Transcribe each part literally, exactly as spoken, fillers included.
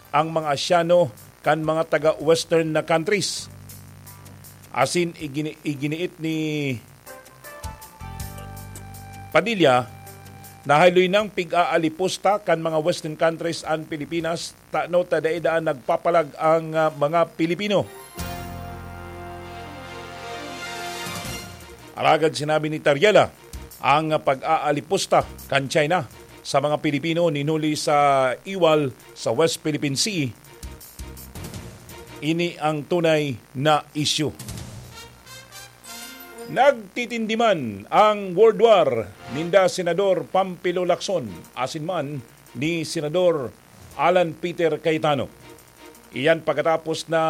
ang mga Asyano kan mga taga-Western na countries. Asin igini-, iginiit ni Padilla, nahaloy nang pig-aalipusta kan mga Western countries an Pilipinas, tano ta dai daa nagpapalag ang, ah, mga Pilipino. Alagad sinabi ni Tariela, ang pag-aalipusta kan China sa mga Pilipino ninuli sa Iwal sa West Philippine Sea, ini ang tunay na isyu. Nagtitindiman ang World War ninda Senador Pampilo Lacson asin man ni Senador Alan Peter Cayetano. Iyan pagkatapos na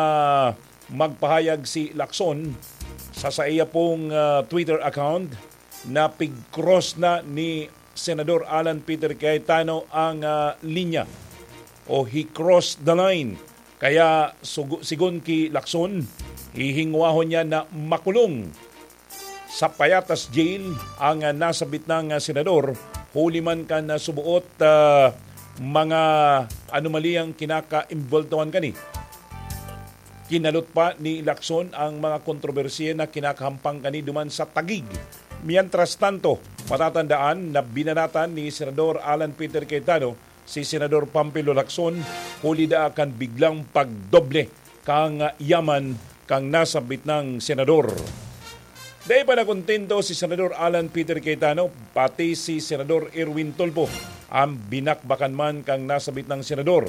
magpahayag si Lacson sa saiya pong, ah, Twitter account na pig-cross na ni Senador Alan Peter Cayetano ang, ah, linya o he crossed the line. Kaya sugu-, sigon ki Lacson, hihingwahon niya na makulong sa Payatas Jail ang, ah, nasabit nang, ah, senador, huli man kan, ah, subuot, ah, mga anomaliyang kinakaimbultuhan kani. Kinalot pa ni Lacson ang mga kontrobersiya na kinakahampang kani duman sa Taguig. Mientras tanto, matatandaan na binanatan ni Senador Alan Peter Cayetano si Senador Pampilo Lacson, huli daa kan biglang pagdoble kan yaman kan nasabit nang senador. Dai pa nakontento si Senador Alan Peter Cayetano, pati si Senador Erwin Tulfo, ang binakbakan man kan nasabit nang senador.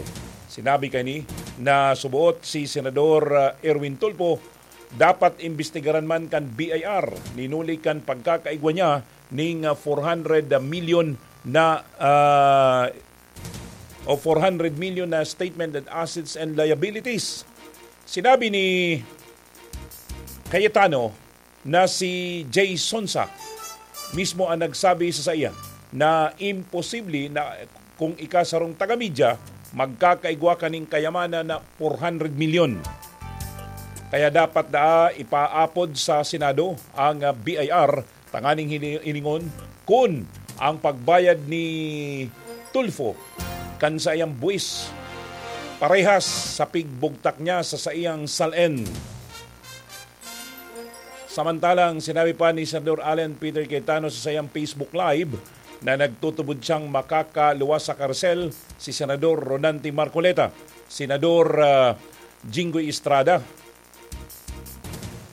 Sinabi kani na subuot si Senador, ah, Erwin Tulfo, dapat imbestigaran man kan B I R, ninuli kan pagkakaigwa niya ning, ah, four hundred million na, ah, o four hundred million na statement of assets and liabilities. Sinabi ni Cayetano na si Jay Sonsa mismo ang nagsabi sa saiya na imposible na kung ika sarong taga-media, magkakaigwa ka ning kayamanan na four hundred million. Kaya dapat daa ipaapod sa Senado ang, ah, B I R tanganing hini-, hilingon kun ang pagbayad ni Tulfo kan saiyang buwis parehas sa pigbugtak niya sa saiyang SALN. Samantalang sinabi pa ni Senador Alan Peter Cayetano sa saiyang Facebook Live na nagtutubod siyang makakaluwas sa karsel si Senador Rodante Marcoleta, Senador, ah, Jinggoy Estrada,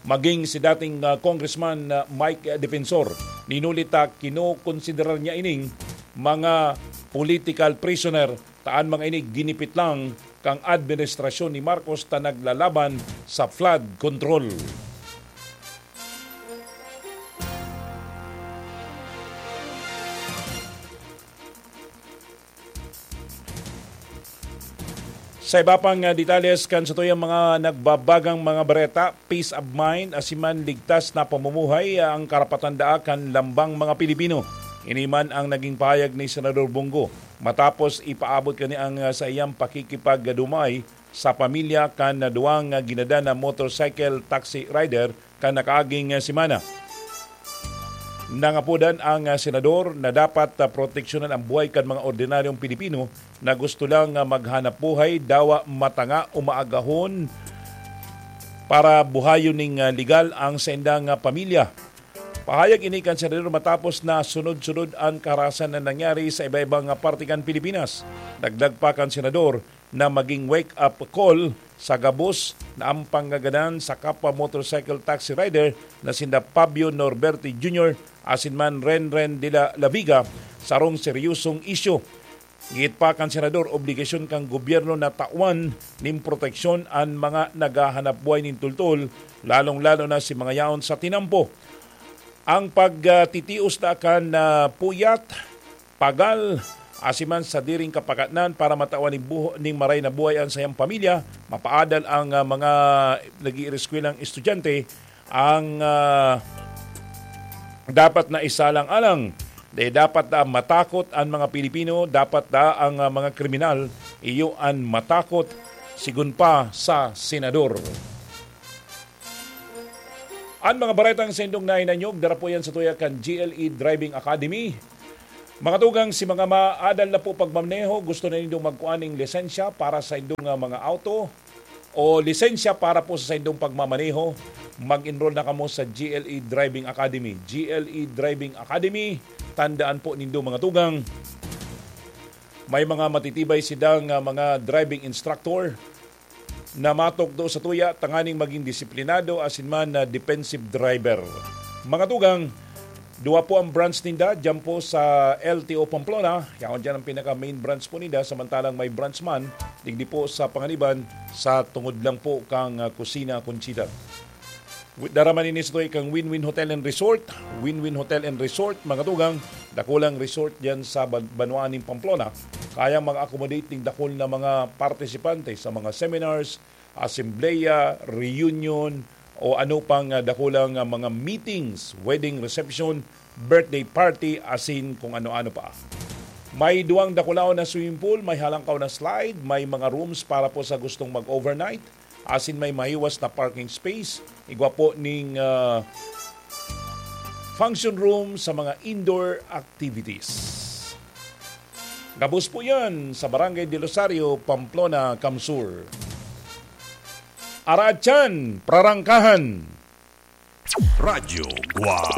maging si dating, ah, Congressman, ah, Mike Defensor. Ninuli ta, kinokonsiderar niya ining mga political prisoner, ta an mga ini ginipit lang kan administrasyon ni Marcos ta naglalaban sa flood control. Sa iba pang, ah, detalles kan satuyang mga nagbabagang mga bareta, peace of mind, asin man ligtas na pamumuhay, ah, ang karapatan daa kan lambang mga Pilipino. Ini man ang naging pahayag ni Senador Bong Go matapos ipaabot kani ang, ah, saiyang pakikipagdumay sa pamilya kan duwang, ah, ginadan na motorcycle taxi rider kan nakaaging, ah, semana. Nangapodan ang, ah, senador na dapat, ah, proteksyonan ang buhay kan mga ordinaryong Pilipino na gusto lang, ah, maghanap buhay, dawa matanga o maagahon para buhayon ning, ah, legal ang saindang, ah, pamilya. Pahayag ini kan senador matapos na sunod-sunod ang kaharasan na nangyari sa iba-ibang, ah, parte kan Pilipinas. Dagdag pa kan senador, na maging wake-up call sa gabos na ang pangagadan sa kapwa motorcycle taxi rider na sinda Fabio Norberti Junior asin man Renren de la, la Viga sarong seryosong isyu. Giit pa kan senador, obligasyon kan gobyerno na tawan nin proteksyon an mga naghahanap buhay nin tultol, lalong-lalo na si mga yaon sa tinampo. Ang pagtitios na kan, ah, puyat, pagal, asin man sadiring kapakatnan para matawan nin buho-, nin maray na buhay an saiyang pamilya, mapaadal ang, ah, mga nag-iireskwelahang estudyante, ang, ah, dapat na isalang-alang. Dai dapat na matakot an mga Pilipino, dapat na ang, ah, mga kriminal, iyo an matakot, sigon pa sa senador. An mga baretang saindong nahinanyog, dara po yan sa tuya kan G L E Driving Academy. Mga tugang, si mga maadal na po pagmamaneho, gusto na nindong magkuha ning lisensya para sa indong, ah, mga auto o lisensya para po sa indong pagmamaneho, mag-enroll na kamo sa G L E Driving Academy. G L E Driving Academy, tandaan po nindo, mga tugang, may mga matitibay sidang, ah, mga driving instructor na matukdo sa tuya tanganing maging disiplinado asin man na defensive driver. Mga tugang, duwa po ang branch ninda diyan po sa L T O Pamplona. Yaon diyan ang pinaka-main branch po ninda, samantalang may branch man digdi po sa Panganiban, sa tungod lang po kang, ah, Kusina Conchita. Dara man ini sa tuig kang Win-Win Hotel and Resort. Win-Win Hotel and Resort, mga tugang, dakulang resort diyan sa ban-, banwaan nin Pamplona. Kayang mag-accommodate ning dakul na mga partisipante sa mga seminars, asembleya, reunion, o ano pang, ah, dakulang, ah, mga meetings, wedding reception, birthday party, asin kung ano-ano pa. May duwang dakulaon na swimming pool, may halangkaw na slide, may mga rooms para po sa gustong mag-overnight, asin may mahiwas na parking space, igwa po ning, ah, function room sa mga indoor activities. Gabos po yan sa Barangay del Rosario, Pamplona, Camsur. Araat yan, prarangkahan. Radyo Guwang.